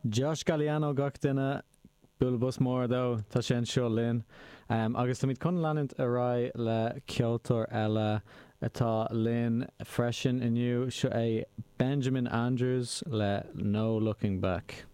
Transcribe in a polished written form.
Josh Galliano gach duine, bualadh bos mór dó, tá sé anseo linn. Agus táimid chun leanúint ar aghaidh le ceoltóir eile atá linn freisin inniu, seo é Benjamin Andrews le No Looking Back.